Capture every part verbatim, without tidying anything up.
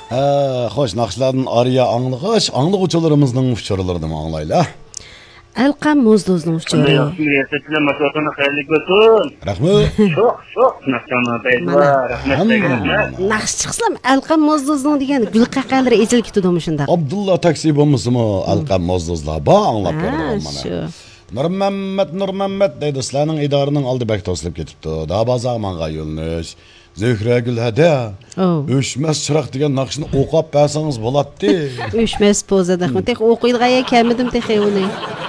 ھە، خوش، ناخشىلاردىن ئارىيە ئاڭلىغاچ، ئاڭلىغۇچىلىرىمىزنىڭ ئۇچۇرلىرىنىمۇ ئاڭلايلى. ئەلقەم موزدوزنىڭ ئۇچۇرى. ياخشىمۇ، رىياسەتچىلەر، ماشۇ ۋاقىتنى خەيرلىك بولسۇن. رەھمەت. شوق، شوق، ناخشاڭلار دەيدىلا. مانا. رەھمەت، ھەممە. رەھمەت. ناخشا چىقسام، ئەلقەم موزدوزنىڭ دېگەن گۈل قەقەلىرى ئېچىلىپ كېتىدۇ مۇشۇنداق. ئابدۇللا تاكسى بولمىسىمۇ، ئەلقەم موزدوزلار بار ئاڭلاپ ھە، بېرىدىغان مانا. شۇ. نۇرمەممەت، نۇرمەممەت دەيدۇ، سىلەرنىڭ ئىدارىنىڭ ئالدى بەك توسۇلۇپ كېتىپتۇ. دابازاغا ماڭغان يۆنىلىش. زۆھرەگۈل ھەدە. ئوۋ. ئۆچمەس چىراغ دېگەن ناخشىنى ئوقۇپ بەرسىڭىز بولاتتى. ئۆچمەس پوزا دەخمە. تېخى ئوقۇيدىغان يەر كەلمىدىم تېخى ئۇنى.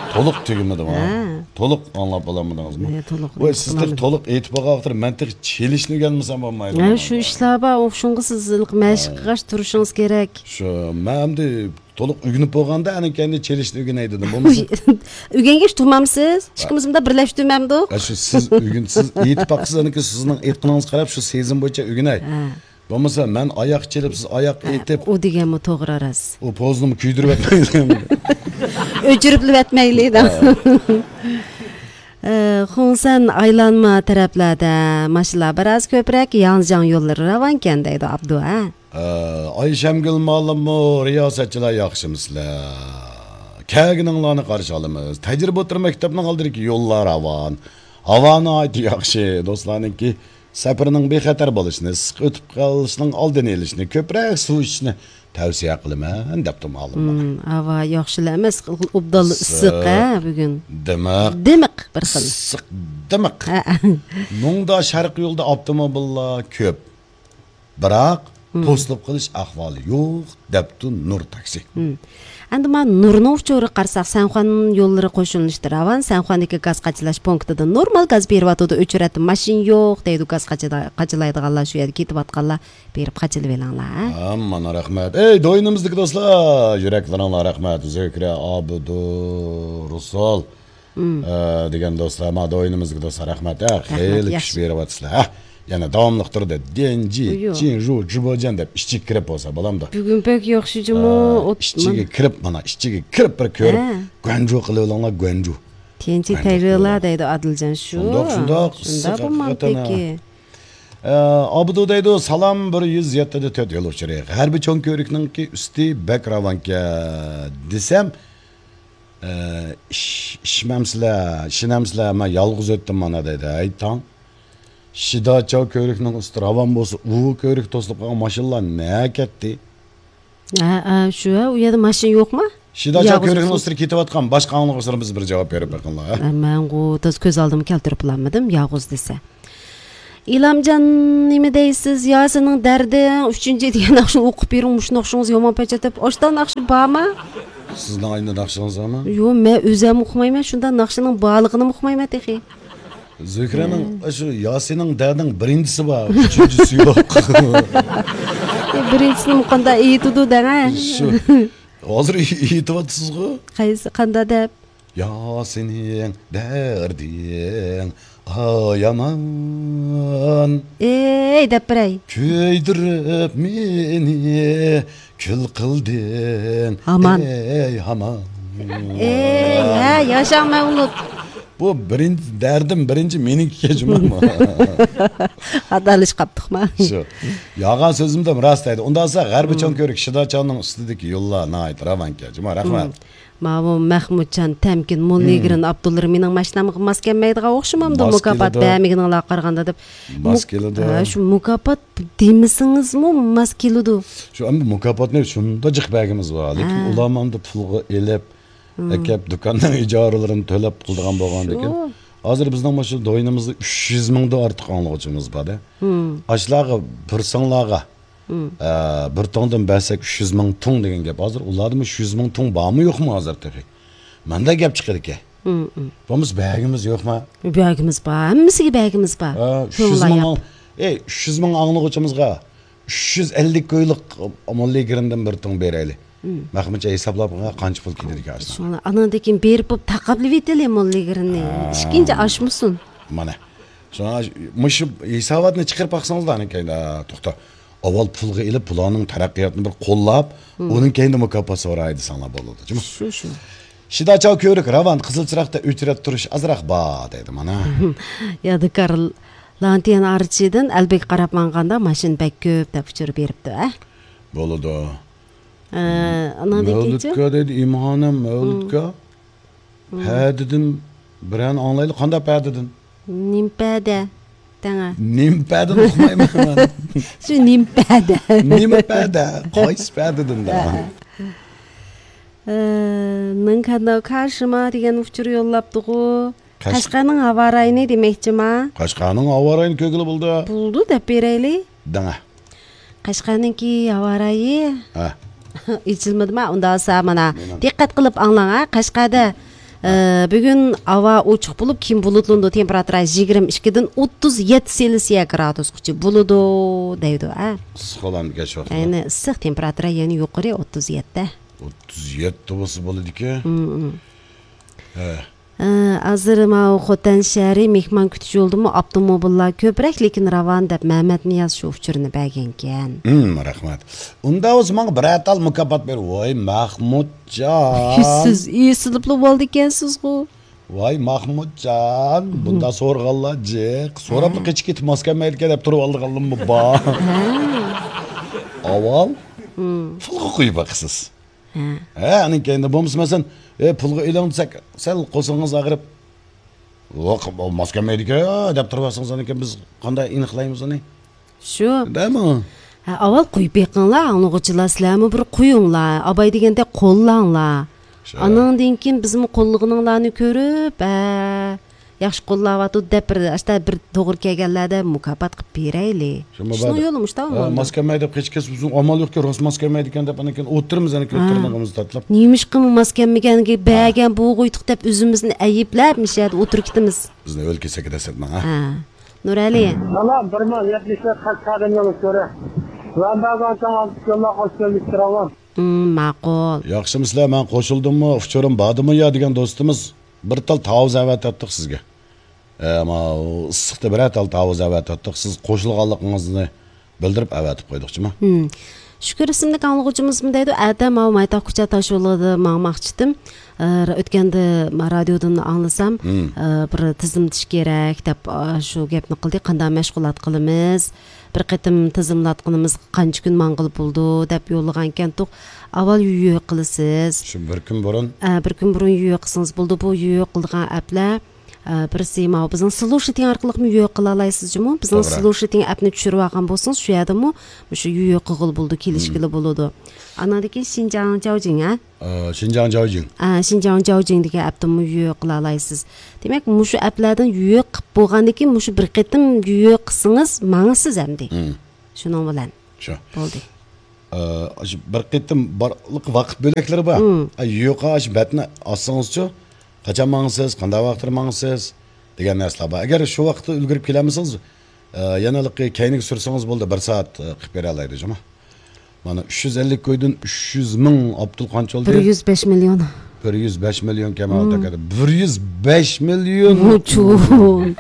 تولۇق تۈگىمىدىمۇ؟ ھە. تولۇق ئاڭلاپ بولالمىدىڭىزمۇ؟ ھە، تولۇق ۋاي، سىز تېخى ئاڭلىمىدىم. تولۇق ئېيتىپ بولغان ۋاقىتتا مەن تېخى چېلىشنى ئۆگەنمىسەم بولمايدۇ. ھە، شۇ ئىشلار بار، شۇڭا سىز مەشىق قىلغاچ تۇرۇشىڭىز كېرەك. شۇ، مەن ئەمدى تولۇق ئۆگىنىپ بولغاندا، ئاندىن كېيىن چېلىشنى ئۆگىنەي دېدىم. بولمىسا ئۆگەنگەچ تۇرمامسىز؟ ئىككىمىز مۇنداق بىرلەشتۈرمەمدۇق؟ ھە، شۇ سىز ئۆگىن-، سىز ئېيتىپ باقسىز، ئاندىن كېيىن سىزنىڭ ئېيتقىنىڭىزغا قاراپ شۇ سېزىم بويىچە ئۆگىنەي. ھە. بولمىسا مەن ئاياق چېلىپ، سىز ئاياق ئېيتىپ. ئۇ دېگەنمۇ توغرا راست. ئۇ پوزىنىمۇ كۆيدۈرۈۋەتمەيلى. ئۆچۈرۈپلا ئەتمەيلى. ھە. ئە، خۇڭسەن ئايلانما تەرەپلەردە ماشىنىلار بىراز كۆپرەك، ياڭجياڭ يوللىرى راۋانكەن دەيدۇ ئابدۇ، ھە؟ ئە، ئايشەمگۈل مالىممۇ، رىياسەتچىلەر ياخشىمىسىلەر؟ كەلگىنىڭلارنى قارشى ئالىمىز. تەجرىبە ئوتتۇرا مەكتەپنىڭ ئالدىدىكى يوللار راۋان. ھاۋا ناھايىتى ياخشى. دوستلارنىڭكى سەپىرىنىڭ بىخەتەر بولۇشىنى، ئىسسىق ئۆتۈپ قېلىشنىڭ ئالدىنى ئېلىشنى، كۆپرەك سۇ ئىچىشنى تەۋسىيە قىلىمەن، دەپتۇ مالىم. ھىم، ھاۋا ياخشىلا ئەمەس، ئوبدانلا ئىسسىق، ئىسسىق، ھە، بۈگۈن. دىمىق. دىمىق بىر خىل. ئىسسىق، دىمىق. ھە. مۇڭدا شەرقىي يولدا ئاپتوموبىللار كۆپ. بىراق، ھىم. توسۇلۇپ قېلىش ئەھۋالى يوق، دەپتۇ نۇر تاكسى. ھىم. ئەمدى مانا نۇرنىڭ ئۇچۇرىغا قارىساق، سەنخۇەن يوللىرى قوشۇلۇشتا راۋان، سەنخۇەندىكى گاز قاچىلاش پونكىتىدا نورمال گاز بېرىۋاتىدۇ، ئۆچرەتتە ماشىنا يوق دەيدۇ، گاز قاچىدا-، قاچىلايدىغانلار شۇ يەردە كېتىۋاتقانلار بېرىپ قاچىلىۋېلىڭلار، ھە؟ ھە، مانا رەھمەت. ئەي، دوينىمىزدىكى دوستلار، يۈرەكلىرىڭلار رەھمەت. زۆھرە، ئابدۇ، رۇسۇل. ئە، دېگەن دوستلار، ما دوينىمىزدىكى دوستلار، رەھمەت. ھە، رەھمەت، خېلى ياخشى. كۈچ بېرىۋاتىسىلەر. ھە، يەنە داۋاملىق تۇرىدۇ. ديەنجى، ئۇيۇ. جىنجۇ، جۇبوجيەن دەپ ئىچىگە كىرىپ بولسا بولامدۇ؟ بۈگۈن بەك ياخشى جۇمۇ. ھە، ئوت-، ئىچىگە مانا. كىرىپ، مانا ئىچىگە كىرىپ بىر كۆرۈپ، ھە. گۇەنجۇ قىلىۋېلىڭلار، گۇەنجۇ. تيەنجى گۇەنجۇ تەيۋېلا قىلىۋېلىڭلار. دەيدۇ ئادىلجان شۇ. شۇنداق، شۇنداق، شۇنداق ئىسسىق بولمامدىكى. ھەقىقەتەن. ئە، ئابدۇ دەيدۇ، سالام، بىر يۈز يەتتە دە تۆت يول ئۇچۇرى. غەربىي چوڭ كۆۋرۈكنىڭكى ئۈستى بەك راۋانكەن دېسەم، ئە، ئىش-، ئىشمەمسىلەر، ئىشىنەمسىلەر، مەن يالغۇز ئۆتتۈم مانا دەيدۇ. ھەي تاڭ. شىداچاۋ كۆۋرۈكنىڭ ئۈستى راۋان بولسا، ئۇ كۆۋرۈك توسۇلۇپ قالغان ماشىنىلار نەگە كەتتى؟ ھە، ھە، شۇ، ھە، ئۇ يەردە ماشىنا يوقما؟ شىداچاۋ يالغۇز كۆۋرۈكنىڭ ئۆتسە. ئۈستىدە كېتىۋاتقان باشقا ئاڭلىغۇچىلىرىمىز بىر جاۋاب بېرىپ بېقىڭلار، ھە؟ ھە، مەنغۇ تازا كۆز ئالدىمغا كەلتۈرۈپ بولالمىدىم، يالغۇز دېسە. ئىلامجان، نېمە دەيسىز؟ ياسىننىڭ دەردىڭ ئۈچىنچى دېگەن ناخشىنى ئوقۇپ بېرىڭ، مۇشۇ ناخشىڭىز يامان پەچەتەپ. ئاشتا ناخشا بارمۇ؟ سىزنىڭ ئاينى ناخشىڭىز بارمۇ؟ يوق، مەن ئۆزۈم ئۇقمايمەن، شۇنداق ناخشىنىڭ بارلىقىنىمۇ ئۇقمايمەن تېخى. زۆھرەنىڭ، ھە. شۇ ياسىننىڭ دەردىنىڭ بىرىنچىسى بار، ئۈچىنچىسى يوق. بىرىنچىسىنىمۇ قانداق ئېيتىدۇ دەڭە. شۇ. ھازىر ئېيتىۋاتىسىزغۇ؟ قايسى، قانداق دەپ؟ ياسىنىڭ دەردىڭ ئايامان. ئەي، دەپ بېرەي. كۆيدۈرۈپ مېنى كۈل قىلدىڭ، ھامان. ئەي، ھامان. ئەي، ھە، ياشاڭ مەۋلۇت. بۇ بىرىنچى دەردىم، بىرىنچى مېنىڭكى كەچمەنمۇ؟ خاتالىشىپ قاپتۇقما؟ شۇ. يالغان سۆزۈمدىمۇ راست دەيدۇ. ئۇنداق بولسا، غەربىي چوڭ كۆۋرۈك شىداچاۋنىڭ ئۈستىدىكى يوللار ناھايىتى راۋانكەن جۇما. رەھمەت. ماۋۇ مەخمۇتجان، تەمكىن، موللىگىرىن ئابدۇللا مېنىڭ ماشىنامغا ماس كەلمەيدىغان ئوخشىمامدۇ، ماس مۇكاپات كېلىدۇ. بەرمىگىنىڭلارغا قارىغاندا دەپ. ماس مۇك-، كېلىدۇ. ھە، شۇ مۇكاپات دېمىسىڭىزمۇ ماس كېلىدۇ. شۇ ئەمدى مۇكاپاتنى شۇنداق جىق بەرگىمىز بار. لېكىن ھە. ئۇلارمۇ ئەمدى پۇلغا ئېلىپ، ئەكەپ، دۇكاننىڭ ئىجارىلىرىنى تۆلەپ قىلىدىغان بولغاندىكىن، شۇ. ھازىر بىزنىڭ مۇشۇ دوينىمىزدا ئۈچ يۈز مىڭدىن ئارتۇق ئاڭلىغۇچىمىز بار-دە. ئاشۇلارغا بىر ساڭلارغا، ئە، بىر توڭدىن بەرسەك ئۈچ يۈز مىڭ توڭ دېگەن گەپ. ھازىر ئۇلاردا مۇشۇ يۈز مىڭ توڭ بارمۇ يوقمۇ ھازىر تېخى؟ ماندا گەپ چىقىدىكەن. بولمىسا بەرگىمىز يوقما؟ بەرگىمىز بار، ھەممىسىگە بەرگىمىز بار. ئە، ئۈچ يۈز مىڭ ئاڭ-، ئەي، ئۈچ يۈز مىڭ ئاڭلىغۇچىمىزغا ئۈچ يۈز ئەللىك كويلۇق موللىگىرىندىن بىر توڭ بېرەيلى. مەخمۇتجان ھېسابلاپ قانچە پۇل كېتىدىكەن ئاشۇنداق. شۇڭا ئانىڭدىن كېيىن بېرىپ بولۇپ تاقاپلىۋېتەيلى موللىگىرىننى. ھە. ئىككىنچى ئاشمىسۇن. مانا. شۇڭا مۇشۇ ھېساباتنى چىقىرىپ باقسىڭىزلا ئانىڭ كەينىدە، توختا. ئاۋۋال پۇلغا ئېلىپ، بۇلارنىڭ تەرەققىياتىنى بىر قوللاپ، ئۇنىڭ كەينىدە مۇكاپات سوراي دېسەڭلار بولىدۇ، جۇمۇ. شۇ، شۇ. شىداچاۋ كۆۋرۈك راۋان، قىزىل چىراغدا ئۆچرەت تۇرۇش ئازراق بار دەيدۇ مانا. يادىكار لانتيەن ئارچىدىن ئەلبەگە قاراپ ماڭغاندا ماشىنا بەك كۆپ دەپ ئۇچۇر بېرىپتۇ، ھە؟ بولىدۇ. ئە، ئاناندىن كېيىنچە؟ مەۋلۇتكا دەيدۇ، ئىمانەم مەۋلۇتكا. مم. پەدىدىن بىرەرنى ئاڭلايلى، قانداق پەدىدىن؟ نېمە پەدە؟ دەڭە. نېمە پەدىنى ئۇقمايمەن مەن. شۇ نېمە پەدە؟ نېمە پەدە؟ قايسى پەدىدىن دە؟ ئە، ئە. ئە، 能看到卡什吗 دېگەن ئۇچۇر يوللاپتىغۇ. قەش- قەشقەرنىڭ ھاۋا رايىنى دېمەكچىما؟ قەشقەرنىڭ ھاۋا رايىنى كۆرگىلى بولىدۇ. بولىدۇ، دەپ بېرەيلى. دەڭە. قەشقەرنىڭكى ھاۋا رايى ھە. ئېچىلمىدىما؟ ئۇنداق بولسا مانا، نېمە؟ دىققەت قىلىپ ئاڭلاڭ ھە. قەشقەردە، ھە. ئە، بۈگۈن ھاۋا ئوچۇق بولۇپ، كېيىن بۇلۇتلىنىدۇ. تېمپېراتۇرا يىگىرمە ئىككىدىن ئوتتۇز يەتتە سېلسىيە گرادۇسقىچە بولىدۇ دەيدۇ ھە. ئىسسىق بولامدىكەن شۇ ۋاقىتتا؟ يەنى ئىسسىق، تېمپېراتۇرا يەنە يۇقىرى، ئوتتۇز يەتتە. ئوتتۇز يەتتە بولسا بولىدىكەن. مم، مم. ھە. ئە، ھازىر ماۋۇ خوتەن شەھىرى مېھمان كۈتۈش يولىدىمۇ ئاپتوموبىللار كۆپرەك، لېكىن راۋان دەپ مەمەتنىياز شۇ ئۇچۇرنى بەرگەنكەن. ھىم، رەھمەت. ئۇنداق بولسا ماڭا بىرەر تال مۇكاپات بېرىڭ. ۋاي، مەخمۇتجان. سىز ئېسىلىپلا بولىدىكەنسىزغۇ. ۋاي، مەخمۇتجان، بۇنداق سورىغانلار جىق. سوراپلا ھە. قېچىپ كېتىپ ماس كەلمەيدىكەن دەپ تۇرۇۋالىدىغانلىرىمۇ بار. ھە. ئاۋۋال ھىم. پۇلغا قويۇپ باقىسىز. ھە. ھە، ئانىڭ كەينىدە بولمىسا، مەسىلەن، «ئە، پۇلغا ئېلىڭ» دېسەك، سەل قورسىقىڭىز ئاغرىپ، «ياق، ماس كەلمەيدىكەن» دەپ تۇرۇۋالسىڭىز، ئانىڭ كەينىدىن بىز قانداق ئېنىقلايمىز ئۇنى؟ شۇ. دەمۇ؟ ھە، ئاۋۋال قويۇپ بېقىڭلار، ئاڭلىغۇچىلار، سىلەرمۇ بىر قويۇڭلار، ئاباي دېگەندەك قوللاڭلار. شۇ. ئانىڭدىن كېيىن بىزمۇ قوللىغىنىڭلارنى كۆرۈپ، ھە، ياخشى قوللاۋاتىدۇ دەپ بىر، ئاشتا بىر توغرا كەلگەنلەردە مۇكاپات قىلىپ بېرەيلى. شۇ مۇبادا. شۇنىڭ يولى مۇشۇنداق ھە، ئامالدا. ماس كەلمەيدۇ دەپ قېچىپ كەتسە، بىزنىڭ ئامال يوقكەن، راست ماس كەلمەيدىكەن دەپ، ئانىڭ كېيىن ئولتۇرىمىز، ئانىڭ كېيىن ھە. تىرنىقىمىزنى تاتىلاپ. نېمىشقىمۇ ماس كەلمىگەنگە ھە. بەرگەن بولغۇيتۇق دەپ ئۆزىمىزنى ئەيىبلەپ، مۇشۇ يەردە ئولتۇرۇپ كېتىمىز. بىزنى ئۆلكە سەكرەتسەتمەڭ، ھە. ھە. نۇرئەلى. مانا بىر مىڭ يەتمىش تۆت قەشقەردىن يول كۆرە. ۋەنبەگان ساڭا يوللار خوش كەلدىك، راۋان. مم، ماقۇل. ياخشىمۇسىلەر، مەن قوشۇلدۇممۇ، ئۇچۇرۇم باردىمۇ يا دېگەن دوستىمىز، بىر تال تاۋۇز ئەۋەتەتتۇق سىزگە. ئە، ماۋۇ ئىسسىقتا بىرەر تال تاۋۇز ئەۋەتەتتۇق، سىز قوشۇلغانلىقىڭىزنى بىلدۈرۈپ ئەۋەتىپ قويدۇقچىما. ھىم. شۈكۈر ئىسىملىك ئاڭلىغۇچىمىزمۇ دەيدۇ، ئەتە ماۋۇ مايتاغ كۇچا تاشيولىدا ماڭماقچىتىم. ئە، ئۆتكەندە ما-، رادىيودىن ئاڭلىسام، ھىم. ئە، بىر تىزىملىتىش كېرەك دەپ، ئە، شۇ گەپنى قىلدى. قانداق مەشغۇلات قىلىمىز؟ بىر قېتىم تىزىملاتقىنىمىز قانچە كۈن ماڭغىلى بولىدۇ دەپ يوللىغانىكەنتۇق. ئاۋۋال يۆ قىلىسىز. شۇ بىر كۈن بۇرۇن؟ ئە، بىر كۈن بۇرۇن يۆ قىلسىڭىز بولىدۇ. بۇ يۆ قىلىدىغان ئەپلەر، ئە، بىرسى ماۋۇ بىزنىڭ سلوشىتىڭ ئارقىلىقمۇ يۆ قىلالايسىز جۇمۇ. بىزنىڭ توغرا. سلوشىتىڭ ئەپنى چۈشۈرۈۋالغان بولسىڭىز، شۇ يەردىمۇ مۇشۇ يۆ قىلغىلى بولىدۇ، كېلىشكىلى مم. بولىدۇ. ئاناندىن كېيىن شىنجاڭ جاۋجىڭ، ھە؟ ئە، شىنجاڭ جاۋجىڭ. ئە، شىنجاڭ جاۋجىڭ دېگەن ئەپتىنمۇ يۆ قىلالايسىز. دېمەك، مۇشۇ ئەپلەردىن يۆ قىلىپ بولغاندىن كېيىن مۇشۇ بىر قېتىم يۆ قىلسىڭىز ماڭىسىز ئەمدى. مم. شۇنىڭ بىلەن. شۇ. بولدى. ئە، ئاشۇ بىر قېتىم بارلىق ۋاقىت بۆلەكلىرى بار. مم. ئە، يۆ قىلىپ ئاشۇ بەتنى ئالسىڭىزچۇ، قاچان ماڭىسىز، قانداق ۋاقىتتا ماڭىسىز دېگەن نەرسىلەر بار. ئەگەر شۇ ۋاقىتتا ئۈلگۈرۈپ كېلەلمىسىڭىز، ئە، يەنە ھېلىقى كەينىگە سۈرسىڭىز بولدى، بىر سائەت، ئە، قىلىپ بېرەلەيدۇ جۇمۇ. مانا ئۈچ يۈز ئەللىك كويدىن ئۈچ يۈز مىڭ ئابدۇل قانچە بولدى؟ بىر يۈز بەش مىليون. بىر يۈز بەش مىليون كەمال مم. تاكادا. بىر يۈز بەش مىليون. ئوچۇن.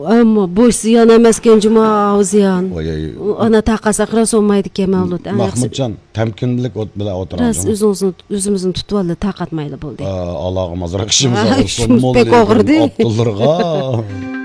ئەمما بوش زىيان ئەمەسكەن جۇما، ئاۋۇ زىيان. ۋاي، ۋاي. ئانا تاقا ساقرا سولمايدىكەن مەۋلۇت. ئەڭ ياخشىسى. مەخمۇتجان، تەمكىنلىك ئوت بىلەن ئولتۇراڭ راست، جۇما. ئۆزىڭىزنى، ئۆزىمىزنى تۇتۇۋالدى، تاقەت مايلى بولدى. ئا، ئالاغا مازراق ئىشىمىز ھە، ئاغرىسۇن، شۇ موللا پەك ئوغرىدى. ئابدۇللارغا.